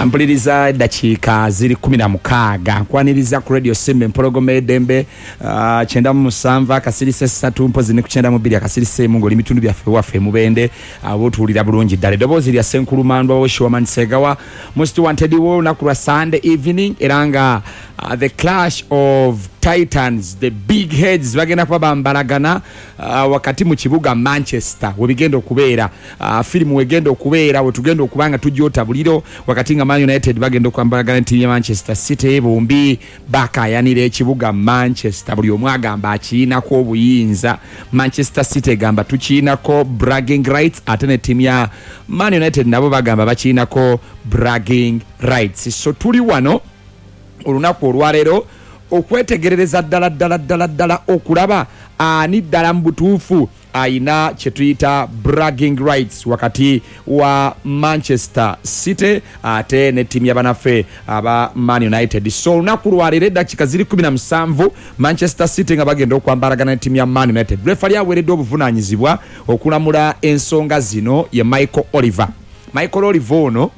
Mpuliriza, eddakiika ziri 16. Nkwaniriza ku Radio Simba, empologoma edembe, 97.3, mpozi ne ku 92.1 ng'oli mitundu byaffe waffe mubende abo otuwulira bulungi ddala. Eddoboozi lya Ssenkulumandwa Woshoman Segawa, most wanted wo olunaku lwa Sunday evening, era nga the clash of titans, the big heads, bagenda kuba bambalagana wakati mu kibuga Manchester webigenda okubeera, firimu wegenda okubeera, wetugenda okuba nga tujota buliro, wakati nga Man United bagenda okwambalagana ttiimu ya Manchester City. Bombi bakayanira ekibuga Manchester, buli omu agamba akiyinako obuyinza. Manchester City egamba tukiyinako bragging rights, ate ne ttiimu ya Man United nabo bagamba bakiyinako bragging rights. So tuli wano olunaku olwaleero okwetegerereza ddala ddala ddala ddala okulaba ani ddala mu butuufu ayina kyetuyita bragging rights wakati wa Manchester City ate ne ttiimu y'abanaffe aba Man United. So olunaku lwaleero eddakiika ziri 17, Manchester City nga bagenda okwambalagana ne ttiimu ya Man United. Refali aweereddwa obuvunaanyizibwa okulamula ensonga zino ye Michael Oliver. Michael Oliver ono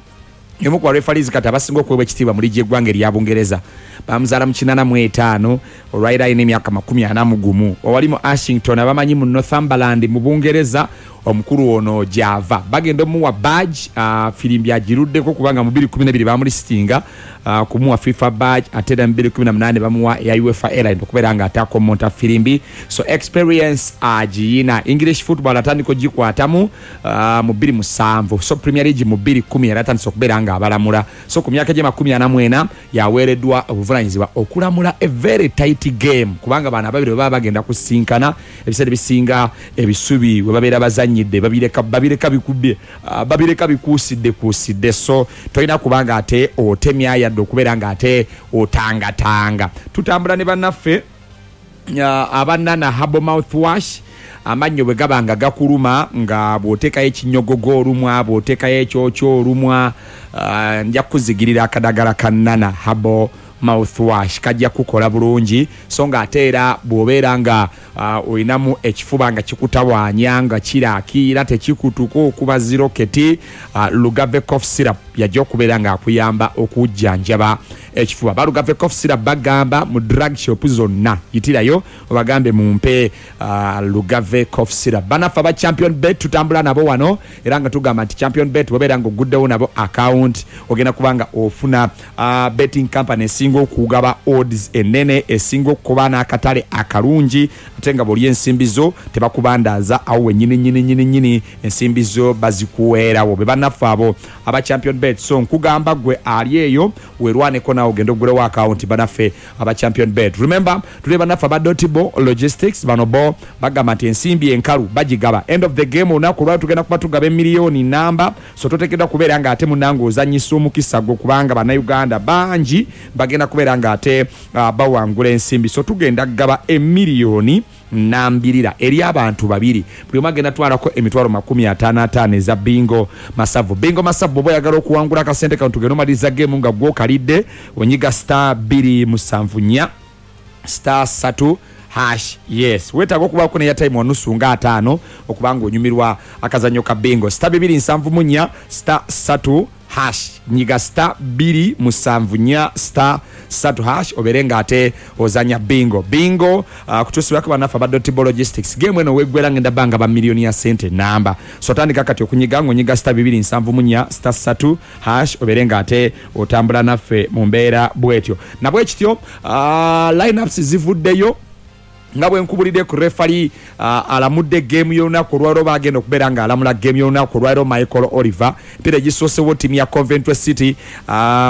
yomu ku barefaris kati abasinga okuweebwa ekitiibwa mu liigi y'eggwanga erya Bungereza. Bamuzaala mu 85, olwaliro alina emyaka 41. Owali mu Ashington, abamanyi mu Northumberland mu Bungereza, omukulu ono gyava. Bagenda omuwa badge, firimbi agiruddeko, kubanga mu 2012 bamulistinga kumuwa FIFA badge, ate era mu 2018 bamuwa eya UEFA Airline okubeera nga ate akomonta firimbi. So experience agiyina. English football atandika ogikwatamu mu 2007, so Premier League mu 2010 yali atandise okubeera nga abalamula. So ku myaka gye 44 yaweereddwa obuvunanyizibwa okulamula a very tight game, kubanga bano ababiri bwe baba bagenda kusinkana, ebiseera ebisinga ebisubi we babeera bazanyidde babireka bikubye, babireka bikuusidde kuusidde. So tolina kubanga ate otemya yadde okubeera nga ate otangatanga. Tutambula ne bannaffe abanana herbal mouthwash. Amannyo bwe gaba nga gakuluma, nga bw'oteekayo ekinyogogo olumwa, bw'oteekayo ekyokyo olumwa, nja kukuzigirira akadagala ka Nana herbal mouthwash, kajja kukola bulungi. So nga ate era bw'obeera nga olinamu ekifuba nga kikutawaanya, nga kiraakiira, tekikutuka okuba ziroketi, Lugave cough syrup yajja okubeera nga akuyamba okujjanjaba ekifuba. Balugave cough syrup bagamba mu drug shop zonna yitirayo obagambe mumpe Lugave cough syrup. Banaffe aba Champion Bet tutambula nabo wano, era nga tugamba nti Champion Bet bwebeera nga oguddewo nabo account, ogenda kuba nga ofuna betting company esinga okugaba odds enene, esinga okuba n'akatale akalungi, ate nga bw'oli ensimbi zo tebakubandaaza awo wenyini nyini nyini nyini, ensimbi zo bazikuweerawo. Be bannaffe abo aba Champion Bet. So nkugamba gwe ali eyo, werwaneko naawe ogenda ogulewo account banaffe aba Champion Bet. Remember, tuli bannaffe aba Dotibo Logistics. Bano bo bagamba nti ensimbi enkalu bagigaba end of the game. Olunaku olwali tugenda kuba tugaba emiliyoni namba, so toteekeddwa kubeera nga ate munange ozanyisa omukisa gwo, kubanga Bannayuganda bangi bagenda kubeera nga ate bawangula ensimbi. So tugenda kugaba emiliyoni nambirira eri abantu babiri, buli omu agenda twalako emitwalo 55 eza bingo masavu. Bingo masavu, bwoba oyagala okuwangula akasente kano, tugenda omaliriza game nga gwokalidde, onyiga *274*3#. Yes, weetaaga okubaako neya time wanusu nga ataano okuba nga onyumirwa akazannyo ka bingo. *274*3#. Nyiga *274*3# obeere nga ate ozanya bingo. Bingo kutuusibwako bannaffe aba Dotibo Logistics. Game eno weggwera ngenda bbanga ba miliyoni ya sente namba. So tandika kati okunyiga ng'onyiga *274*3# obeere nga ate otambula naffe mu mbeera bwetyo nabwe kityo. Lineups zivuddeyo nga bwe nkubulidde ku refali alamudde geemu y'olunaku olwaliro, bagenda okubeera nga alamula geemu y'olunaku olwaliro, Michael Oliver. Emipiira egisoosewo, ttiimu ya Coventry City,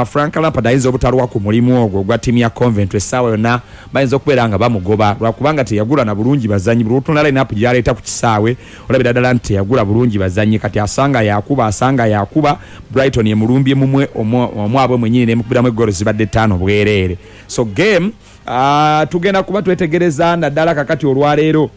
Frank Lampard ayinza obutalwa ku mulimu ogwo ogwa ttiimu ya Coventry. Essaawa yonna bayinza okubeera nga bamugoba lwakubanga teyagula na bulungi bazanyi. Buli lwotunda line-up gy'aleeta ku kisaawe, olabira ddala nti teyagula bulungi bazanyi. Kati asanga yakuba, asanga yakuba Brighton emulumbye mumwe omwabwe mwenyini nemukubiramu eggolo zibadde ttaano bwereere. So game tugenda kuba twetegereza naddala kakati olwaleero.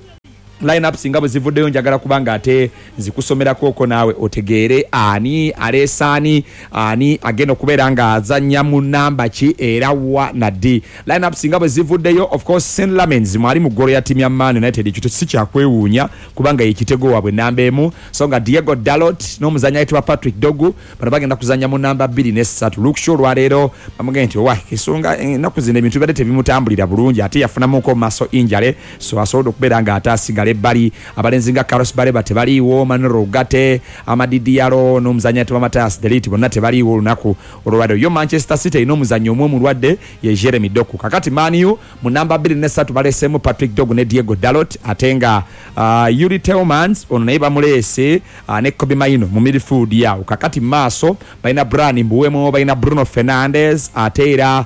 Line-ups nga bwe zivuddeyo, njagala kubanga ate nzikusomerako naawe otegeere ani aleese ani, ani agenda okubeera ng'azannya mu namba ki era wa na ddi. Line-ups nga bwe zivuddeyo, of course Senne Lammens mwali mu ggolo ya ttiimu ya Man United. Ekyo si kyakwewuunya kubanga ye kitego waabwe namba emu, so nga Diogo Dalot n'omuzannyi ayitibwa Patrick Dorgu bano bagenda kuzannya mu namba 2 ne 3. Luke Shaw olwaleero bamugambye nti owa ensonga ennaku zino ebintu bibadde tebimutambulira bulungi, ate yafunamuko muscle injury, so asobodde okubeera ng'ate asigala ebbali. Abalenzi nga Carlos Baleba tebaliiwo, Manuel Ugarte, Amad Diallo n'omuzannyi ayitibwa Matthijs de Ligt bonna tebaliiwo olunaku olwaleero. Yo Manchester City erina omuzannyi omu omulwadde, ye Jeremy Doku. Kakati Man U mu namba 2 ne 3 baleseemu Patrick Dorgu ne Diogo Dalot, ate nga Youri Tielemans ono naye bamuleese ne Kobbie Mainoo mu midfield yawo. Kakati maaso balina Bryan Mbeumo, balina Bruno Fernandes, ate era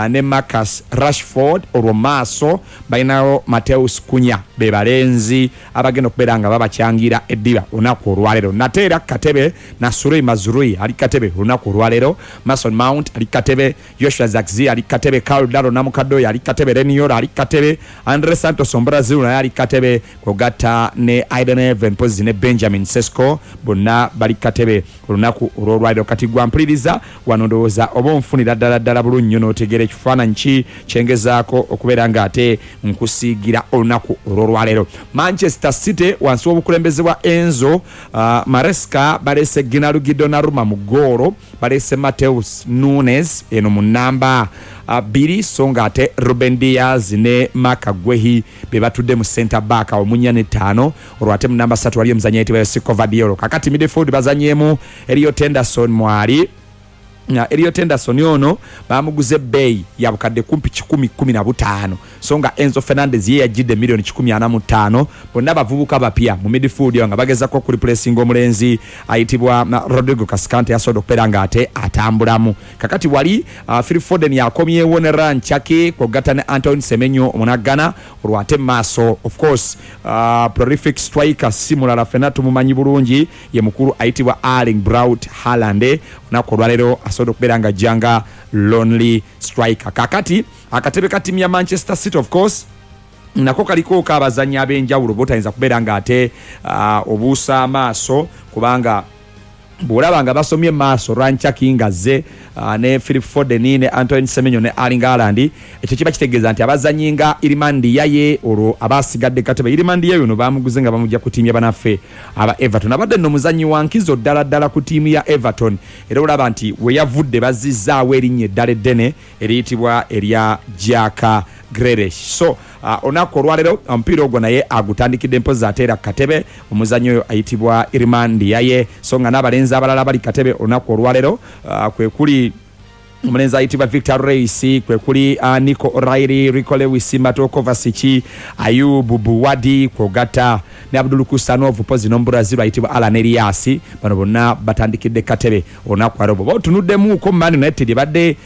ne Marcus Rashford. Olwo maaso balinawo Matheus Cunha, be balenzi abagenda okubeera nga babacyangira eddiba olunaku olwaleero. Nate era Katebe Noussair Mazraoui ali Katebe olunaku olwaleero, Mason Mount ali Katebe, Joshua Zirkzee ali Katebe, Karl Darlow namukadde oyo ali Katebe, Leny Yoro ali Katebe, Andre Santos Omubrazil naye ali Katebe, kwogatta ne Ayden Heaven mpozi ne Benjamin Sesko bonna bali Katebe olunaku olw'olwaleero. Kati gwa mpuliriza wano, ndowooza oba onfunira ddala ddala bulungi nnyo n'otegeera ekifaananyi ki kyengezaako okubeera ng'ate nkusiigira olunaku olw'olwaleero. Manchester City wansi w'obukulembeze bwa Enzo Maresca baleese Gianluigi Donnarumma mu ggoolo, baleese Matheus Nunes eno mu namba 2, so ng'ate Ruben Dias ne Marc Guehi be batudde mu center back awo mu 4 ne 5. Olwo ate mu namba 3 waliyo omuzannyi ayitibwa Josko Gvardiol. Kakati midfield bazannyemu Elliot Henderson mwali. Elliot Henderson ono bamuguze ebbeeyi ya bukadde kumpi 115, so nga Enzo Fernandez ye yajjidde miliyoni 145. Bonna bavubuka bapya mu midfield nga bagezako okureplacinga omulenzi ayitibwa Rodrigo Cascante yasobodde okubeera ng'ate atambulamu. Kakati wali Phil Foden yakomyewo ne Rayan Cherki kwogatta ne Antoine Semenyo omunaggana. Olwo ate maaso, of course, prolific striker si mulala, ffenna tumumanyi bulungi, ye mukulu ayitibwa Erling Braut Haaland. Olunaku olwaleero asobodde okubeera nga ajja nga lonely striker. Kakati akatebe ka ttiimu ya Manchester City of course nako kaliko abazannyi ab'enjawulo botayinza kubeera ng'ate obuusa amaaso, kubanga bw'olaba nga basomye maaso Rayan Cherki ng'azze ne Philip Foden ne Antoine Semenyo ne Erling Haaland, ekyo kiba kitegeeza nti abazannyi nga Iliman Ndiaye olwo abasigadde katebe. Iliman Ndiaye ono bamuguze nga bamujja ku ttiimu ya banaffe aba Everton, abadde nno muzannyi wa nkizo ddala ddala ku ttiimu ya Everton, era olaba nti we yavudde bazzizaawo erinnya eddala eddene eriyitibwa erya Jack Grealish. So olunaku olwaleero omupiira ogwo naye agutandikidde mpozi ate era Katebe omuzannyi oyo ayitibwa Iliman Ndiaye. So nga n'abalenzi abalala bali Katebe olunaku olwaleero kwe kuli omulenzi ayitibwa Victor Reis, kwe kuli Nico O'Reilly, Rico Lewis, Mateo Kovacic, Ayub Bouaddi kwogatta ne Abdul Khusanov pozi n'Omubrazil ayitibwa Alan Elias. Bano bonna batandikidde Katebe olunaku lwaleero. Bw'oba otunuddemuuko Man United ebadde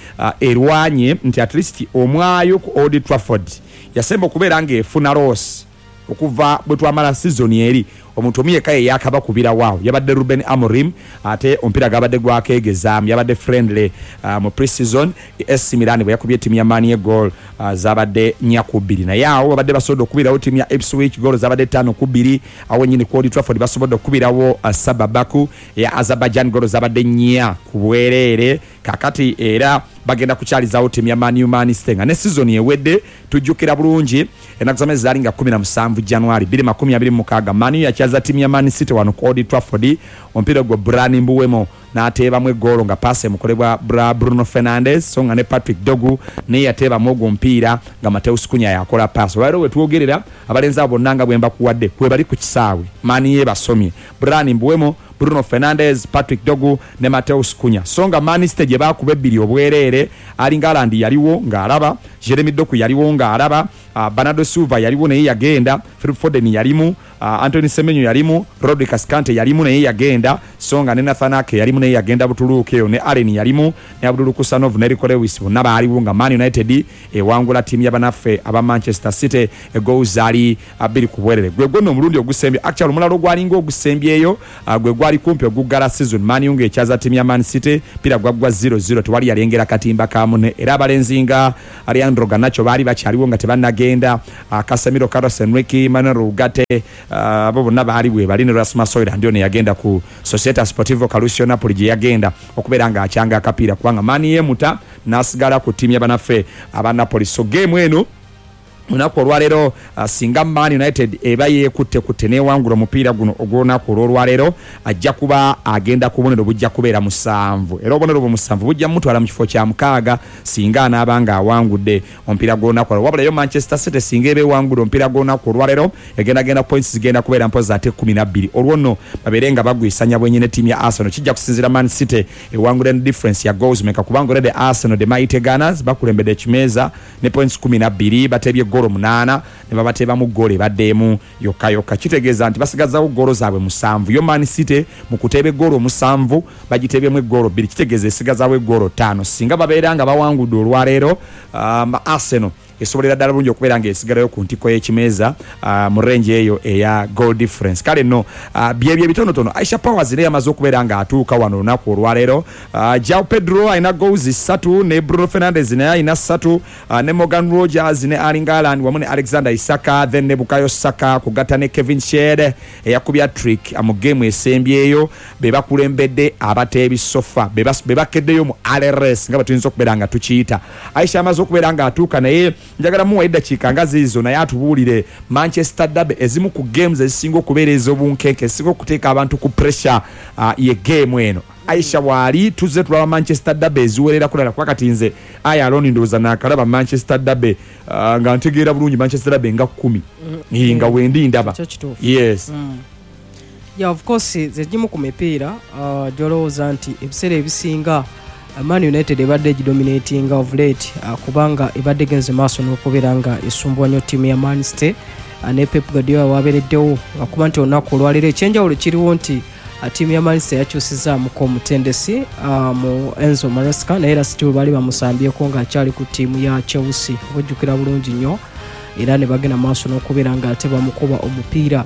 erwanye nti at least omwayo ku Old Trafford yasemba okubeera ng'efuna loss okuva bwe twamala season eri, omuntu omu yekka ye yakabakubirawo awo yabadde Ruben Amorim, ate omupiira gabadde gwakegezaamu, yabadde friendly mu pre-season. AC Milan bwe yakubye ttiimu ya Man U goal zabadde 4-2, naye awo babadde basobodde okubirawo ttiimu ya Ipswich goal zabadde 5-2. Awo nnyini ku Old Trafford basobodde okubirawo Qarabag Baku eya Azerbaijan goal zabadde 4-0. Kakati era bagenda kukyalizaawo ttiimu ya Man U Man City nga ne season ewedde tujjukira bulungi ennaku z'amezi zaali nga 17 January 2026, Man U yakyaza ttiimu ya Man City wano ku Old Trafford. Omupiira ogwo Bryan Mbeumo n'ateebamu eggoolo nga paasi emukolebwa Bruno Fernandes, so nga ne Patrick Dorgu naye yateebamu ogwo omupiira nga Matheus Cunha yakola paasi. Olwaleero we twogerera abalenzi abo bonna nga bwe mbakuwadde kwe bali ku kisaawe, Man U ebasomye Bryan Mbeumo, Bruno Fernandes, Patrick Dorgu ne Matheus Cunha. So nga Man City gye baakuba 2-0, Erling Haaland yaliwo ng'alaba, Jeremy Doku yaliwo ng'alaba, Bernardo Silva yaliwo naye yagenda, Phil Foden yalimu, Antoine Semenyo yalimu, Rodri Cascante yalimu naye yagenda. So nga ne Nathan Ake yalimu, naye yagenda Butuluuki eyo, ne Allen yalimu, ne Abdul Kusanov ne Rico Lewis bonna baaliwo, nga Man United ewangula ttiimu y'abanaffe aba Manchester City egoals zaali 2-0. Gwe gwonna omulundi ogusembye, actually omulala ogwalinga ogusembyeyo, gwe gwali kumpi oguggala season, Man U ng'ekyaza ttiimu ya Man City, pira gwaggwa 0-0, tewali yalengera katimba ka munne. Era abalenzi nga Alejandro Garnacho baali bakyaliwo nga tebannagenda, Casemiro, Carlos Enrique, Manuel Ugarte, abo bonna baali bwe bali, ne Rasmus Hojlund ono yagenda ku Società Sportivo Calcio Napoli gye yagenda okubeera ng'akyanga akapiira, kubanga Man yemuta n'asigala ku ttiimu y'abanaffe aba Napoli. So game eno olunaku olwaleero, singa Man United eba yeekutte kutte newangula omupiira guno ogw'olunaku olw'olwaleero, ajja kuba agenda ku bubonero bujja kubeera 7, era obubonero bwe 7 bujja mutwala mu kifo kya 6 singa anaaba nga awangudde omupiira gw'olunaku olwo. Wabula yo Manchester City singa eba ewangudde omupiira gw'olunaku olwaleero, egendagenda points zigenda kubeera mpozi ate 12, olwo nno babeere nga bagwisanya bwenyi ne ttiimu ya Arsenal. Kijja kusinziira Man City ewangudde ne difference ya goals meka, kubanga already Arsenal, the Mighty Gunners, bakulembedde ekimeeza ne points 12, batebye golo 8 ne babateebamu golo ebaddeemu yokka yokka, kitegeeza nti basigazawo golo zaabwe 7. Yo Man City mu kuteeba eggolo 7 bagiteebyemu eggolo 2, kitegeeza esigazawo eggolo 5. Singa babeera nga bawangudde olwaleero, Arsenal esobolera ddala bulungi okubeera ng'esigalayo ku ntikko y'ekimeeza mu range eyo eya goal difference. Kale nno, byebyo ebitonotono. Aisha Powers naye yamaze okubeera ng'atuuka wano olunaku olwaleero. Joao Pedro alina goals 3, ne Bruno Fernandes naye alina 3, ne Morgan Rogers ne Erling Haaland wamu ne Alexander Isak, then ne Bukayo Saka kugatta ne Kevin Schade eyakubya trick mu game esembyeyo, be bakulembedde abateebi so far, be bakeddeyo mu RRS nga bwe tuyinza okubeera nga tukiyita. Aisha amaze okubeera ng'atuuka, naye njagala muwa eddakiika nga ziizo naye atubuulire Manchester Derby, ezimu ku games ezisinga okubeera ez'obunkenke, ezisinga okuteeka abantu ku pressure, ye game eno. Aisha waali tuzze tulaba Manchester Derby eziwerera kulala, kuba kati nze aya aloni ndowooza naakalaba Manchester Derby, nga ntegeera bulungi Manchester Derby nga 10 nga wendi ndaba. Kyo kituufu. Yes. Yeah, of course zegimu ku mipiira gy'olowooza nti ebiseera ebisinga Man United ebadde egidominatinga of late, kubanga ebadde egenze maaso n'okubeera nga esumbuwa nnyo ttiimu ya Man City, ne Pep Guardiola wabeereddewo, akuba nti olunaku olwaleero ekyenjawulo kiriwo nti ttiimu ya Man City yakyusizaamuko omutendesi, mu Enzo Maresca, naye era still baali bamusambyeko ng'akyali ku ttiimu ya Chelsea, obujjukira bulungi nnyo, era ne bagenda maaso n'okubeera nga ate bamukuba omupiira.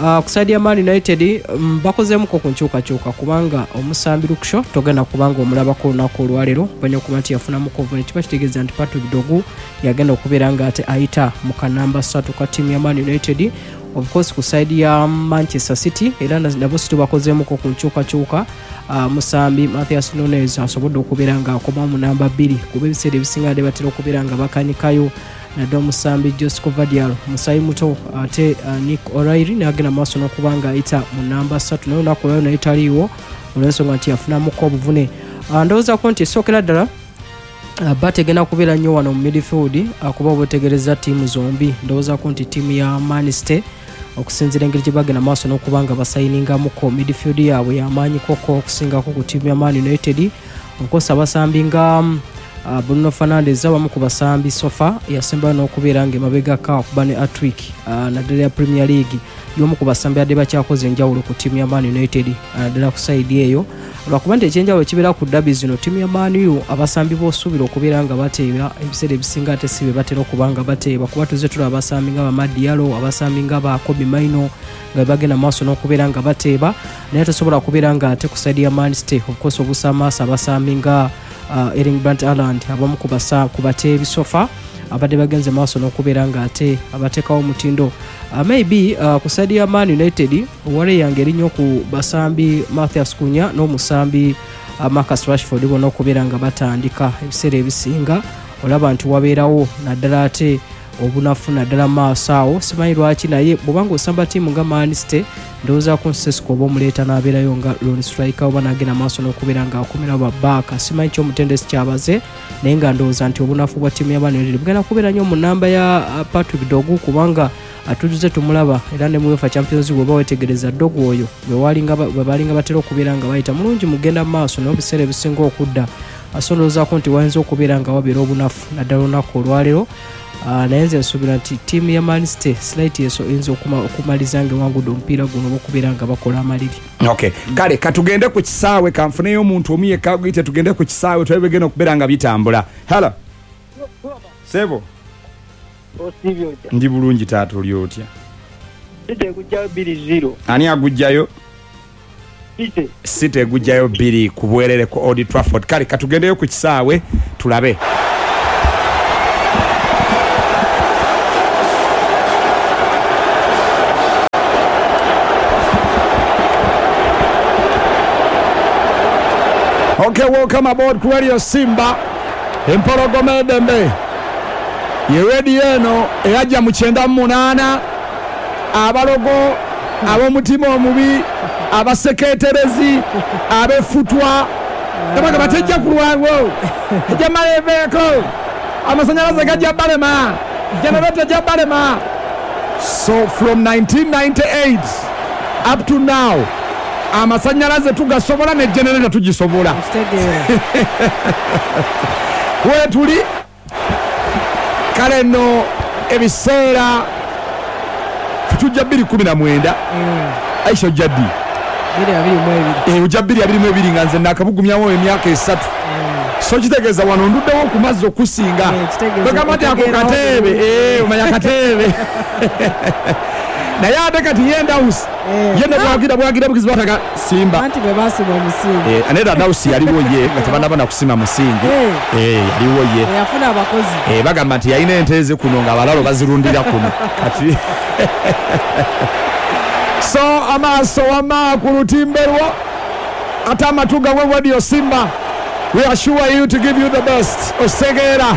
Ku side ya Man United, bakozeemuko ku nkyukakyuka, kubanga omusambi Luke Shaw togenda kubanga omulabako olunaku olwaleero, banya okuba nti yafunamuko obuvune, kiba kitegeeza nti Patrick Dorgu yagenda okubeera nga ate ayita mu kanamba 3 ka ttiimu ya Man United. Of course ku side ya Manchester City era nabo si tubakozeemuko ku nkyukakyuka, musambi Matheus Nunes asobodde okubeera nga akomawo mu namba 2, kuba ebiseera ebisinga badde batera okubeera nga bakanikayo naddala omusambi Josko Gvardiol musayi muto, ate Nick O'Reilly n'agenda maaso n'okuba nga ayita mu namba 3, naye olunaku olwaleero naye taliiwo olw'ensonga nti yafunamuko obuvune. Ndowoozako nti esookera ddala, bat egenda kubeera nnyo wano mu midfield, kuba obwetegereza ttiimu zombi. Ndowoozako nti ttiimu ya Man City okusinziira engeri gye bagenda maaso n'okuba nga basayiningamuko midfield yaabwe y'amaanyi koko okusingako ku ttiimu ya Man United. Of course abasambi nga Bruno Fernandes abamu ku basambi so far yasembayo n'okubeera ng'emabegako akuba ne hat-trick, naddala ya Premier League, y'omu ku basambi adde bakyakoze enjawulo ku ttiimu ya Man United, naddala ku side eyo, lwakuba nti ekyenjawulo kibeera ku derby zino ttiimu ya Man U abasambi b'osuubira okubeera nga bateeba ebiseera ebisinga ate si be batera okuba nga bateeba, kuba tuzze tulaba abasambi nga ba Amad Diallo, abasambi nga ba Kobbie Mainoo nga bagenda maaso n'okubeera nga bateeba, naye tosobola kubeera nga ate ku side ya Man City of course obuusa amaaso abasambi nga Erling Braut Haaland, abamu ku bateebi so far abadde bagenze maaso n'okubeera nga ate abateekawo omutindo. Maybe ku side ya Man United wale yange eri nnyo ku basambi Matheus Cunha n'omusambi Marcus Rashford bonna okubeera nga batandika ebiseera ebisinga, olaba nti wabeerawo naddala ate obunafu naddala maaso awo, simanyi lwaki, naye bw'obanga osamba ttiimu nga Man City ndowoozaako Sesko oba omuleeta n'abeerayo nga lone striker oba n'agenda maaso n'okubeera ng'akomerawo babaaka, simanyi ki omutendesi kyabaze, naye nga ndowooza nti obunafu bwa ttiimu ya Man United bugenda kubeera nnyo mu namba ya Patrick Dorgu, kubanga atujuze tumulaba era ne mu UEFA Champions League oba weetegereza Dorgu oyo bwe baalinga batera okubeera nga bayita mulungi mugenda mu maaso, naye ebiseera ebisinga okudda, so ndowoozaako nti wayinza okubeera nga wabeera obunafu naddala olunaku olwaleero. Naye nze nsuubira nti ttiimu ya Man City slight eso eyinza okumaliza nga ewangudde omupiira guno oba okubeera nga bakola amaliri. Okay, kale katugende ku kisaawe, kanfuneyo omuntu omu yekka aguyite, tugende ku kisaawe tulabe bigenda okubeera nga bitambula. Hello sebo. Osiibye otya? Ndi bulungi taata, oli otya? City egujjayo 2-0. Ani agujjayo? City. City egujjayo 2 ku bwerere ku Old Trafford. Kale katugendeyo ku kisaawe tulabe. Okay, welcome aboard ku Radio Simba, empologoma edembe ye radio eno eyajja mu 98. Abalogo, ab'omutima omubi, abaseketerezi, ab'effutwa tabagamba tejja kulwawo, ejja maleveeko, amasanyalaze gajja balema, generator ejja balema. So from 1998 up to now, amasanyalaze tugasobola ne generator tugisobola. Okitegeera. Wetuli kale nno ebiseera tujja 219. Aisha, ojja ddi? 2022. Eh, ojja 2022, nga nze nakabugumyawo emyaka 3. So kitegeeza wano nduddewo ku mazzi okusinga. Eh, kitegeeza kwegamba nti ako otegeerawo kateebe. bulungi. Eh, omanya kateebe, naye ate kati ye Ndawusi ye ne bwagira bwagira bugizi bataga Simba. Anti bwe basima omusingi. Eh, aneda Ndawusi yaliwo ye nga tebanaba na kusima musingi. Eh, yaliwo ye. Eyafuna abakozi. Eh, bagamba nti yalina ente ze kuno nga abalalo bazirundira kuno kati. So amaaso wama ku lutimbe lwo, ate amatu gawe Radio Simba. We assure you to give you the best, osegeera.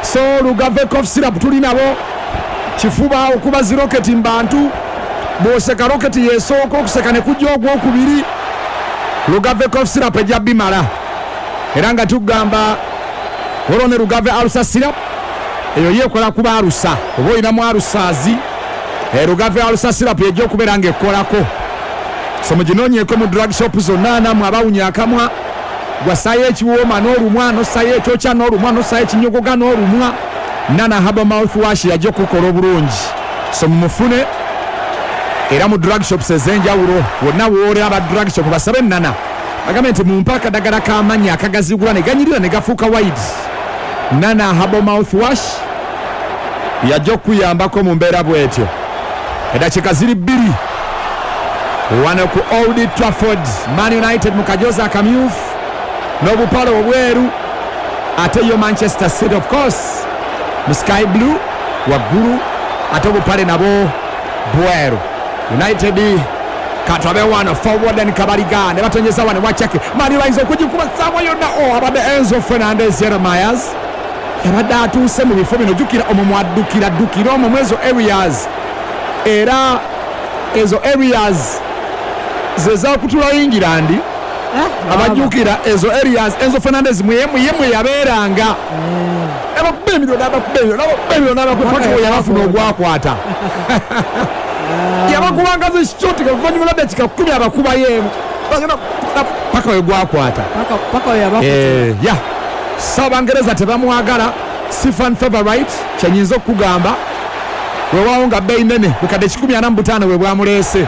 So Lugave cough syrup tuli nabo kifuba okuba ziroketi mu bantu, bw'oseka roketi yesooka okuseka ne kujja ogwokubiri. Lugave cough syrup ejja bimala, era nga tugamba waliwo ne Lugave ulcer syrup, eyo yeekola kuba ulcer, oba olinamu ulcers. Lugave ulcer syrup ejja okubeera ng'ekkolako. So muginoonyeeko mu drug shop zonna. Nammwe abawunya akamwa, gwasaayo ekiwooma n'olumwa, nosaayo ekyokya n'olumwa, nosaayo ekinyogoga n'olumwa, Nana Herbal mouth wash yajja okukola obulungi. So mumufune era mu drug shops ez'enjawulo wonna wooli. Aba drug shop basabe Nana, bagambe nti mumpe akadagala k'amannya akagazigula ne ganyirira ne gafuuka wide. Nana Herbal mouth wash yajja okukuyambako mu mbeera bw'etyo. Eddakiika ziri 2 wano ku Old Trafford. Man United mu kajozi akamyufu n'obupale obweru, ate yo Manchester City of course mu sky blue waggulu, ate obupale nabo bweru. United katwabe wano forward kabaliga ne batonyeza wano wachake mali bayinza okugikuba saawa yonna. O abadde Enzo Fernandez Jeremias yabadde atuuse mu bifo bino. Jjukira omwo mwaddukira ddukira omwo mwezo areas, era ezo areas zezakutula England. Abajjukira ezo areas, Enzo Fernandez mweyemwe yabeeranga, abakuba emiro n'abakuba emiro n'abakuba emiro n'abakuba paka we yabafuna ogwakwata, yabakubanga zishuti oluvannyuma lwa dakika 10 abakubayo emu paka we gwakwata. Paka we yabakuta. Eh, ya so Abangereza tebamwagala, si fan favorite kyenyinza okugamba, wewaawo nga bbeeyi nene, bukadde 145 bwe bwamuleese.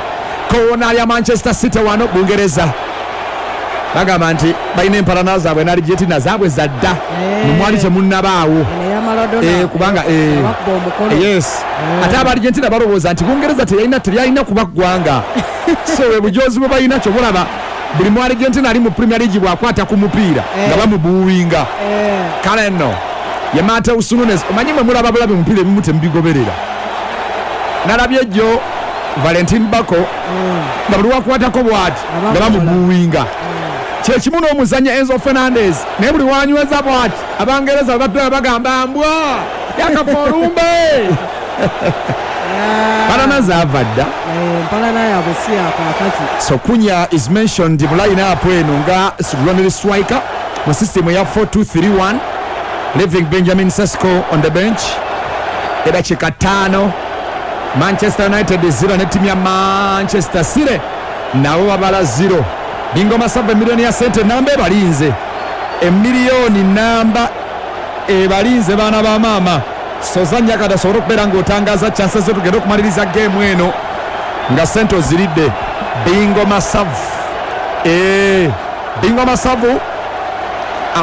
Koona lya Manchester City wano. Bungereza bagamba nti balina empalana zaabwe ne Argentina zaabwe zadda, mumwali temunnabaawo. Eno eya Maradona. Eh, kubanga abakuba omukono. Yes, ate aba Argentina balowooza nti Bungereza teyalina teryalina kuba ggwanga, so bwe bujozi bwe balina. Kyobulaba buli mu Argentina ali mu Premier League bw'akwata ku mupiira nga bamubuuwinga. Kale nno ye Mateus Nunes, omanyi mwe mulaba bulabi mupiira, ebimu temubigoberera. Nalabye jjo Valentin Bako nga buli wakwatako bwati nga bamubuuwinga. Kyekimu n'omuzannya Enzo Fernandez, naye buli wanyweza bwati Abangereza bwe batula bagamba mbwa yakafa olumbe. Palana zaava dda. Eh, empalana yaabwe si yakaakati. So Cunha is mentioned mu line up eno nga running striker mu system ya 4231, leaving Benjamin Sesko on the bench. Edakika 5, Manchester United 0 ne ttiimu ya Manchester City nabo babala 0. Bingo Masavu, emiliyoni ya sente namba ebalinze, emiliyoni namba ebalinze, baana ba maama. Soza Nyakada asobole okubeera ng'otangaaza chances zo, tugende okumaliriza geemu eno nga sente oziridde. Bingo masavu. Bingo masavu,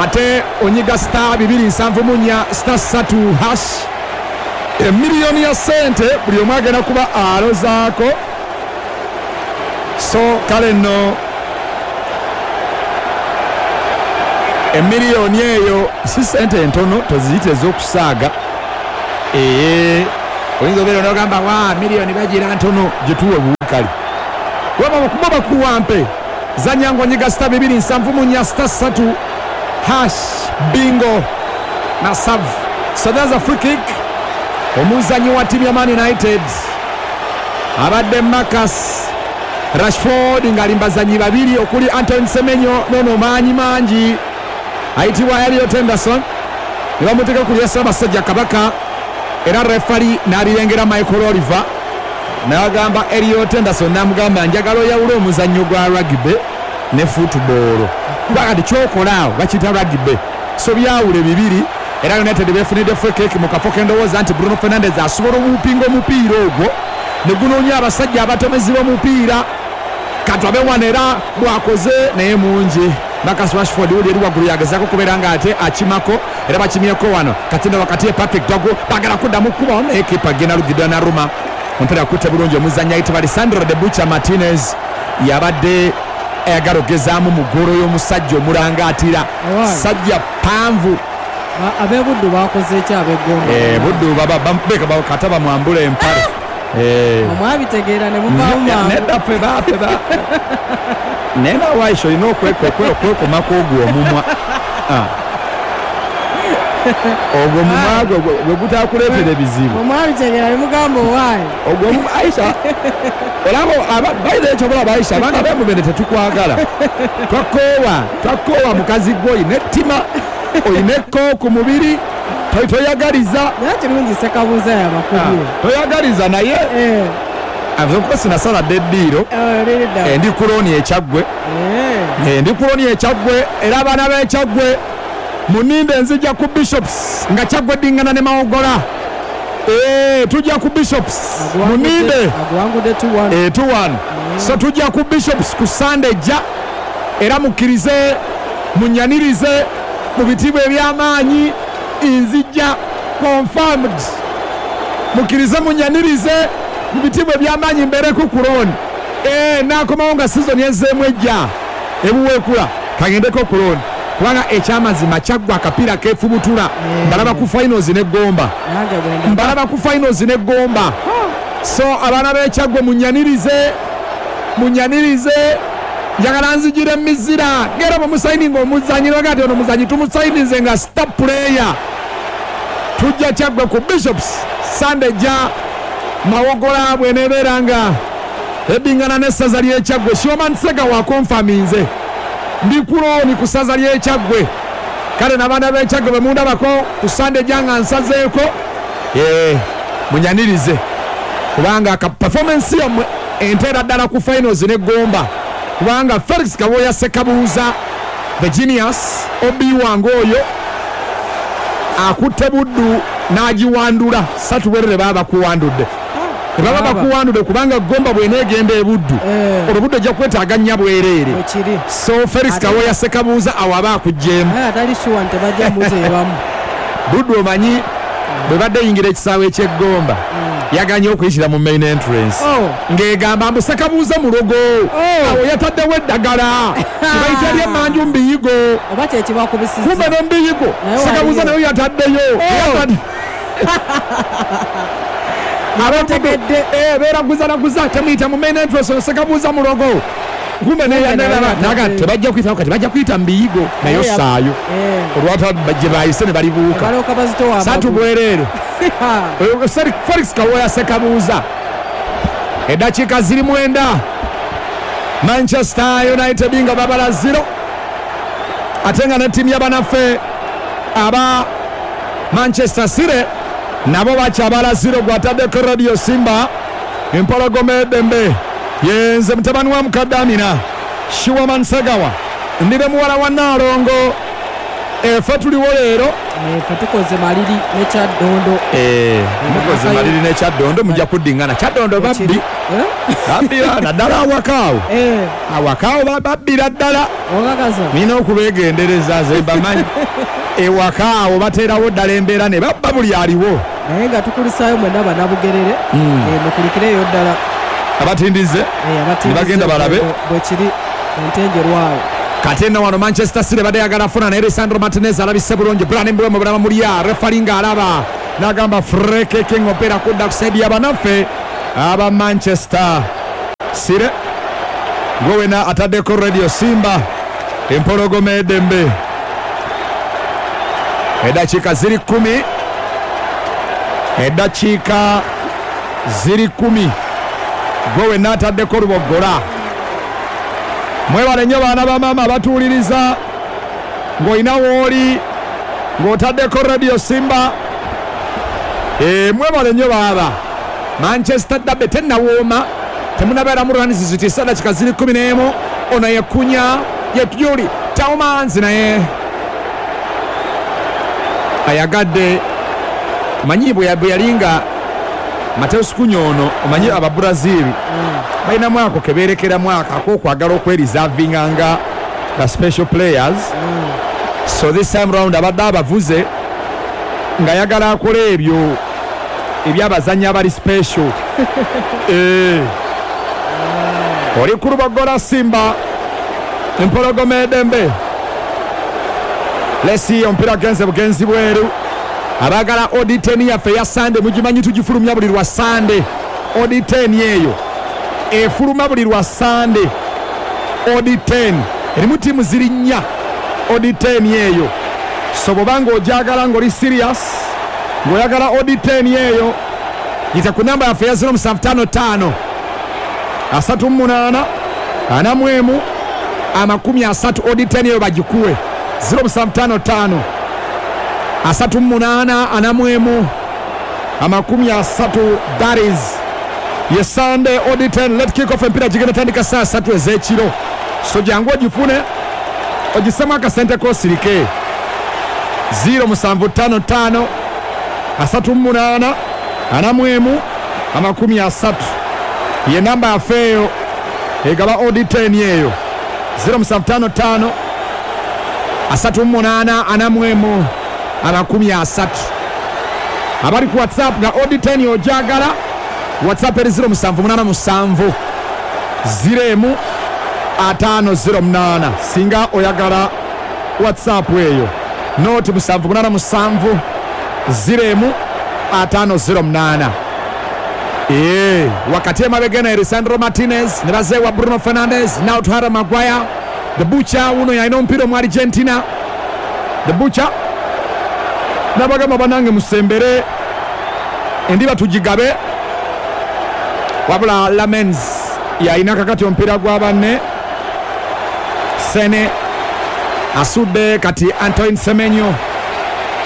ate onyiga star 274 star 3 hash. Emiliyoni ya sente buli omu agenda kuba alozaako. So kale nno emiliyoni eyo si sente entono, toziyite ez'okusaaga. Ee, oyinza obeera nogamba wa miliyoni bagira ntono, gituwe buwukali waba bakuwampe. Zanya ng'onyiga star 274 star 3 hash. Bingo masavu. So there's a free kick. Omuzanyi wa ttiimu ya Man United abadde Marcus Rashford ng'ali mbazanyi babiri okuli Anton Semenyo nono maanyi mangi ayitibwa Elliot Henderson, ne bamuteeka ku lya Ssaabasajja Kabaka, era refari n'abirengera Michael Oliver n'agamba Elliot Henderson, n'amugamba njagala oyawule omuzannyo gwa rugby ne football, kuba kati kyokola awo bakiyita rugby, so byawule bibiri. Era United befunidde free kick mu kafo k'endowooza nti Bruno Fernandes asobola obuupinga omupiira ogwo ne gunoonya abasajja abatomezi b'omupiira. Katwabe wano era bwakoze naye mungi. Marcus Rashford uli eri waggulu yagezaako kubeera nga ate akimako, era bakimyeko wano katinda wakati ye Patrick Dogu bagala kuddamu kuba naye kipa genda lugidwa naruma omupiira akutte bulungi. Omuzannyi ayitibwa Lisandro de Bucha Martinez yabadde ayagala okugezaamu mu ggoolo y'omusajja omulangaatira. Owaaye. Sajja panvu. Ab'ebuddu bakoze ki ab'eggomba? Buddu beka kata bamwambula empale. Omwabitegeera ne muvaamu mangu. Nedda, ffe ba naye nawe Aisha olina okwekomako ogwo omumwa. Ogwo omumwa gwe gwe gutakuleetera ebizibu. Omwabitegeera ne mugamba owaaye. Ogwo omumwa Aisha olaba bayira ekyo bolaba Aisha, abaana b'emubende tetukwagala, twakoowa mukazi gwe, olina ettima, olina ekko ku mubiri, toyagaliza. Naye kirungi Sekabuuza yabakubye. Toyagaliza naye of course nasaladde eddiiro. Liri Ndi kulooni ekyaggwe. Ndi kulooni ekyaggwe, era abaana b'ekyaggwe muninde, nzija ku Bishops nga Kyaggwe ddingana ne Mawogola. Tujja ku Bishops, muninde. Aguwangudde 2-1. 2-1. So tujja ku Bishops ku Sande ejja, era mukkirize munyanirize mu bitiibwa eby'amaanyi. Nzija confirmed, mukkirize munyanirize mu bitiibwa eby'amaanyi, mbeereko ku looni. Nakomawo nga sizoni ezzeemu ejja ebuweekula, kagendeko ku looni, kubanga ekyamazima Kyaggwa akapiira keefubutula. Mbalaba ku finals n'eggomba. Nange bwenda. Mbalaba ku finals n'eggomba. So abaana b'ekyaggwe munyanirize, munyanirize, njagala nzijira emizira ngera bwemusayininga omuzanyi baga ti ono omuzanyi tumusayinize nga star player. Tujja Kyaggwe ku Bishops Sande ja Mawogola bwenebeera nga eddingana n'essaza ly'ekyaggwe. Shoman Sega wakonfaminze ndi kulooni ku ssaza ly'ekyaggwe. Kale n'abaana b'ekyaggwe bwe mundabako ku Sande ejja nga nsazeeko, munyanirize, kubanga ka performance yammwe enteera ddala ku finals n'eggomba, kubanga Felix Kawoya Sekabuuza the genius obi wange oyo akutte Buddu n'agiwandula satu bwerere. Baba bakuwandudde, tebaba Baba. bakuwandudde, kubanga Gomba bw'eneegenda ebuddu, olwo Buddu ejja kwetaaga nnya bwereere. Bwekiri. So Felix Kawoya Sekabuuza awo aba akuggyemu. Naye atali sure nti tebajja muteebamu. Buddu omanyi bwe badde eyingira ekisaawe ekyeggomba yaganye okuyitira mu main entrance, ng'egamba mbu Sekabuuza mulogo, awo yataddewo eddagala tebayita lyemmanju mubiyigo. Oba kyekibakubisiza. Kumbe n'omubiyigo Naye Sekabuuza waliyo. nayo yataddeyo. Abategedde. Beeraguzalaguza temuyita mu main entrance, oyo Sekabuuza mulogo. Kumbe naye naga yataddeyo. tebajja kuyitawo, kati bajja kuyita mubiyigo nayo saayo olwata gye bayise ne balibuuka. Balooka bazitowa Satu amagulu. bwereere. Felix Kawoya Sekabuuza. Eddakiika ziri 9, Manchester United nga babala 0, ate nga ne ttiimu y'abanaffe aba Manchester City nabo bakyabala 0. Gwataddeko Radio Simba, empologoma eddembe. Yenze mutabani wa mukadde Amina Shiwaman Segawa, ndire muwala wa Naalongo. Ffe tuliwo leero. Ffe tukoze maliri ne Kyaddondo. Mukoze maliri ne Kyaddondo, mujja kuddingana. Kyaddondo babbi. Babbira naddala awakaawo. Awakaawo babbira ddala. Nina okubeegendereza nze mbamanyi. Ewakaawo bateerawo ddala embeera ne babba buli aliwo. Naye nga tukulisaayo mwenna Bannabugerere. Mukulikireyo ddala. Abatindize. Ne bagenda balabe. Bwe kiri entengerwawo. Kati eno wano Manchester City badde yagala funa naye Lisandro Martinez alabise bulungi. Bryan Mbeumo bulaba mulya, referee ng'alaba n'agamba free kick omupiira kudda ku side y'abanaffe aba Manchester City. Gwe wena ataddeko Radio Simba empologoma eddembe. Eddakiika ziri 10, eddakiika ziri 10. Gwe wena ataddeko Luboggola. Mwebale nnyo baana ba maama abatuwuliriza ng'olina wooli ng'otaddeko Radio Simba. Mwebale nnyo baaba. Manchester Derby tennawooma, temunabeeramu runs zitiisa. Dakika ziri 11. Ono yekunya ye Yuri Tielemans naye ayagadde. Omanyi bwe yalinga Mateus Cunha ono, omanyi Ababrazil balinamu ako kebeerekeramu ako ak'okwagala okwerizavinga nga the special players. So this time round abadde abavuze ng'ayagala akola ebyo ebyabazannyi abali special. Oli ku Luboggola Simba empologoma eddembe. Lesi omupiira genze bugenzi bweru. Abaagala odd 10 yaffe eya Sande mugimanyi tugifulumya buli lwa Sande. Odd 10 eyo efuluma buli lwa Sande. Odd 10 erimu ttiimu ziri 4. Odd 10 eyo, so bw'obanga ogyagala ng'oli serious ng'oyagala odd 10 eyo, yita ku namba yaffe ya 0755 38 41 30. Odd 10 eyo bagikuwe 0755 38 41 30. That is ye Sunday odd 10. Let kick off empira gigenda tandika saa 3 ez'ekiro. So jangu ogifune ogisemu akasente kosirike. 0755 38 41 30 ye namba yaffe eyo egaba odd 10 eyo. 0755 38 41 30. Abali ku WhatsApp nga odd 10 ojagala, WhatsApp eri 0787 0 508. Singa oyagala WhatsApp eyo noti 787 0 508. Wakati emabega na Lisandro Martinez ne bazeewa Bruno Fernandes, now to Harry Maguire the Butcher. Uno yalina omupiira mu Argentina, the Butcher. Nabagamba banange musembere endiba tugigabe. Wabula Lamens yalina kakati omupiira gwa banne. Sene asudde kati Antoine Semenyo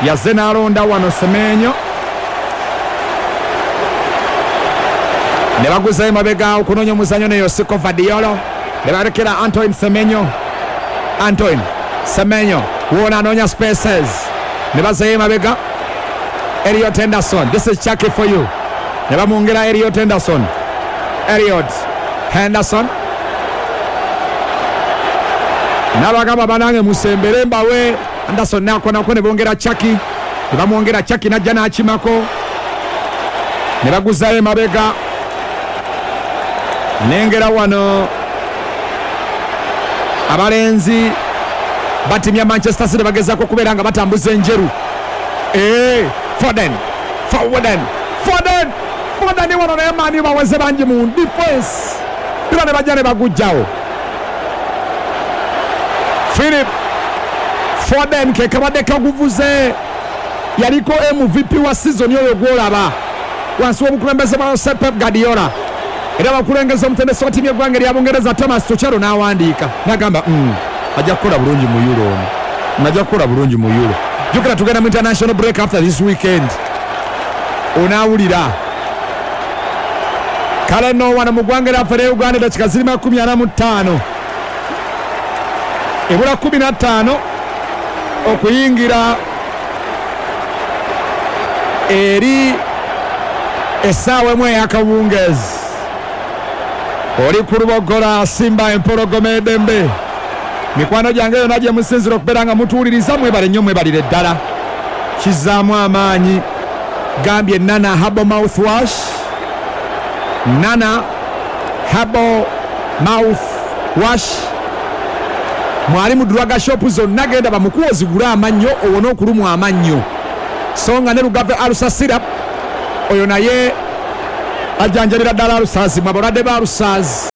yazze n'alonda wano Semenyo ne baguzayo emabega okunoonya omuzannyo ne Josko Gvardiol ne balekera Antoine Semenyo. Antoine Semenyo wona anoonya spaces ne bazayo emabega Elliot Henderson. This is Chucky for you. Ne bamwongera Elliot Henderson. Elliot Henderson n'abagamba banange musembere mbawe. Anderson nakonako ne bongera Chucky, ne bamwongera Chucky najja n'akimako ne baguzayo emabega. Nengera wano abalenzi batimya Manchester City bagezaako okubeera nga batambuza enjeru. Foden, Foden, Foden, Foden wano naye maani baweze bangi mu defense pira ne bajja ne bagujjawo. Philip Foden ke kabadde kaguvuze, yaliko MVP wa season yoyo gwolaba wansi w'obukulembeze bwa Josep Pep Guardiola. Era bakulengeza omutendesi wa ttiimu y'eggwanga erya Bungereza Thomas Tuchel n'awandiika n'agamba ajja kukola bulungi mu Euro ono, ajja kukola bulungi mu Euro. Jjukira tugenda mu international break after this weekend, onaawulira. Kale nno wano mu ggwanga lyaffe erya Uganda eddakiika ziri 45 ebula 15 Okuyingira eri essaawa emu ey'akawungeezi. Oli ku Lubogola, Simba Empologoma Edembe. Mikwano gyange yonna gye musinzira okubeera nga mutuwuliriza, mwebale nnyo, mwebalire ddala, kizzaamu amaanyi. Gambye Nana Herbal Mouthwash, Nana Herbal Mouthwash mwali mu drug shop zonna, genda bamukuwa ozigule amannyo owone okulumwa amannyo. So nga ne Lugave Ulcer Syrup, oyo naye ajjanjabira ddala ulcers, mwe abalwadde ba ulcers.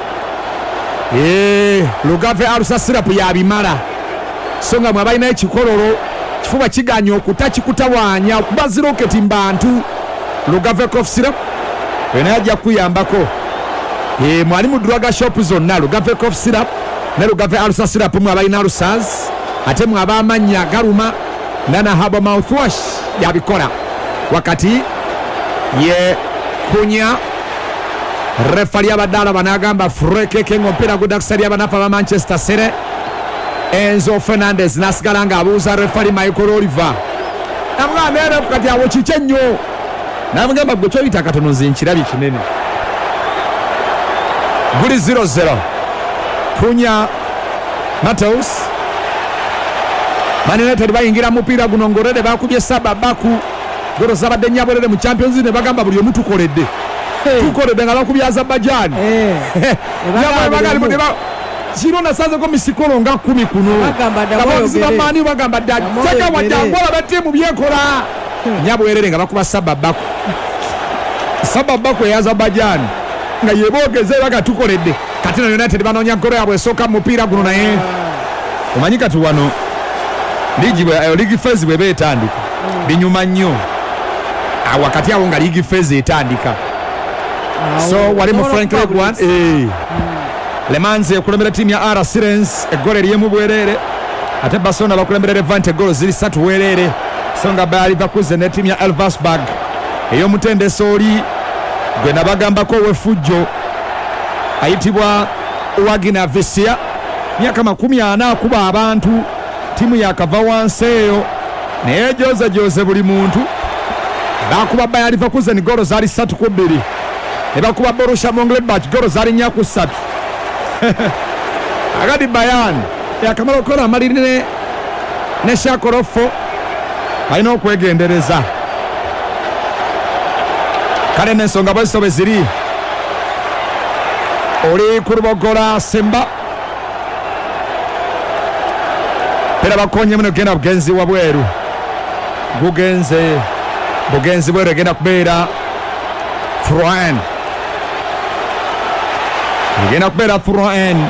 Lugave Ulcer Syrup yabimala. So nga mwe abalina ekikololo, kifuba kiganya okuta, kikutawaanya okuba ziroketi mu bantu, Lugave Cough Syrup oyo naye ajja kukuyambako. Mwali mu drug shop zonna, Lugave Cough Syrup ne Lugave Ulcer Syrup, mwe abalina ulcers. Ate mwe ab'amannya agaluma, Nana Herbal Mouthwash yabikola. Wakati ye Kunya, refali abadde alaba n'agamba free kick, ng'omupiira gudda kusalira abanafu aba Manchester City. Enzo Fernandez n'asigala ng'abuuza refali Michael Oliver, namugamba, "Naye ref, kati awo kiki ennyo?" Namugamba, "Gwe kyoyita katono, nze nkirabye kinene." Guli 0-0. Kunya Mateus, Man United bayingira mupiira guno ng'olwedde bakubye saba baku golo zabadde nyabwerere mu Champions League, ne bagamba buli omu tukoledde, tukoledde nga bakubye Azerbaijan. Kiro nasanzeko misikolo nga 10 kuno. Bagamba ddamu abawagizi oyogere. bamaani bagamba dda Ddamu teka oyogere. wajjangu olaba ttiimu byekola nyabwerere nga bakuba saba baku, saba baku eya Azerbaijan nga yeboogeze baga tukoledde. Kati no United banoonya golo yabwe esooka mu mupiira guno, naye omanyi kati wano liigi league phase bweba etandika binyuma nnyo. Awo wakati awo nga league phase etandika, so wali mu French League One, Le Mans ekulembera ttiimu ya RC Lens eggolo eryemu bwereere, ate Barcelona bakulembera Levante eggolo ziri 3 wereere. So nga Bayer Leverkusen ne ttiimu ya Elversberg ey'omutendesi oli gwe nabagambako ow'effujjo ayitibwa Wagner Visia, myaka 40, akuba abantu, ttiimu yakava wansi eyo naye jozejoze buli muntu. Bakuba Bayer Leverkusen golo zaali 3-2, ne bakuba Borussia Mönchengladbach golo zaali 4-3. Agadi Bayern yakamala okukola amaliri ne Shakorofo, balina okwegendereza. Kale n'ensonga bwezito bwe ziri. Oli ku Lubogola Simba, era bakonyemu negenda bugenzi wabweru, gugenze bugenzi bweru, egenda kubeera throw-in, egenda kubeera throw-in.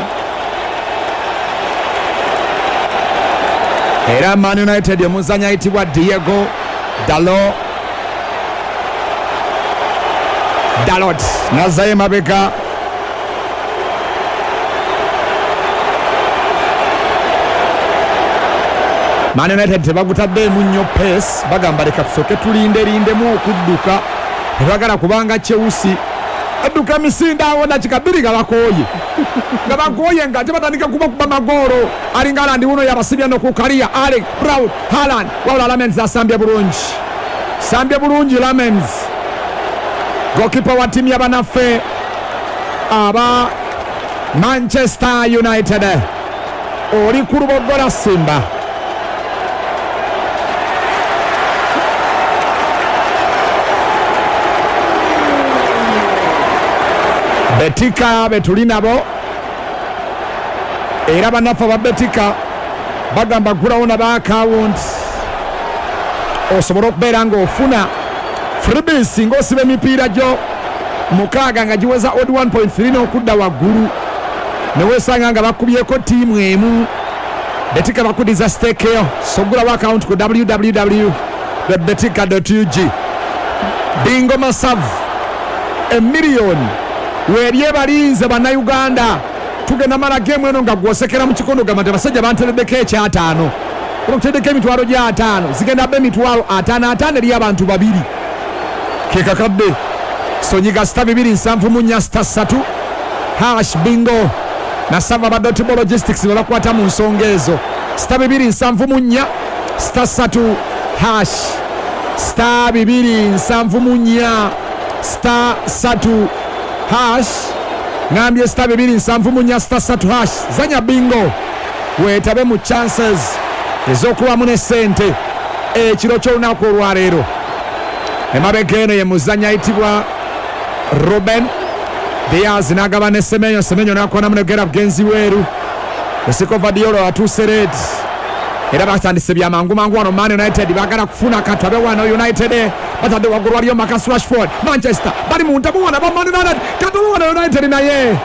Era Man United omuzanyi ayitibwa Diego Dalot nazzayo emabega. Man United tebagutaddeemu nnyo pace, bagamba leka tusooke tulinderindemu okudduka, tebagala kubanga Chelsea adduka emisinde awo dakika 2 nga bakooye, nga bakooye nga tebatandika kubakuba magoolo. Alinga Haaland wuno yabasibya nokukaliya Erling Braut Haaland, wabula Lamens asambye bulungi, sambye bulungi Lamens, goalkeeper wa ttiimu y'abanaffe aba Manchester United. Oli ku Lubogola Simba. Betika betuli nabo, era bannaffe aba Betika bagamba gulawo naba akawunti osobole okubeera ng'ofuna freebies ng'osiba emipiira gyo 6 nga giweza odd 1.3 n'okudda waggulu, neweesanga nga bakubyeko ttiimu emu, Betika bakudiza stake yo. So gulawo akawunti ku www.betika.ug. Bingo masavu emiliyoni weeri ebalinze bannayuganda. Tugenda mala gemu eno nga gwosekera mu kikondo, gamba nti abasajja bantereddeko ekyataano, bakuteddeko emitwalo gy'ataano, zigenda ba emitwalo ataano ataano eri abantu babiri, kekakadde. Sonyiga *274 *3# bingo nasava ba Dotbo Logistics be bakwata mu nsonga ezo. *274 Star 3 hash, star 274 star 3 hash. Ngambye star 274 star 3 hash. Zanya bingo, weetabe mu chances ez'okubamu ne ssente ekiro ky'olunaku olwaleero. Emabega eno ye muzanyi ayitibwa Ruben Diaz n'agaba ne Semenyo, Semenyo n'akonamu ne Gerard Genzi Weru. Osiko Vadiolo atuuse red, era batandise bya mangu mangu wano. Man United baagala kufuna katabe wano. United batadde waggulu waliyo Marcus Rashford. Manchester bali mu ntamu wano aba Man United, katabe wano United naye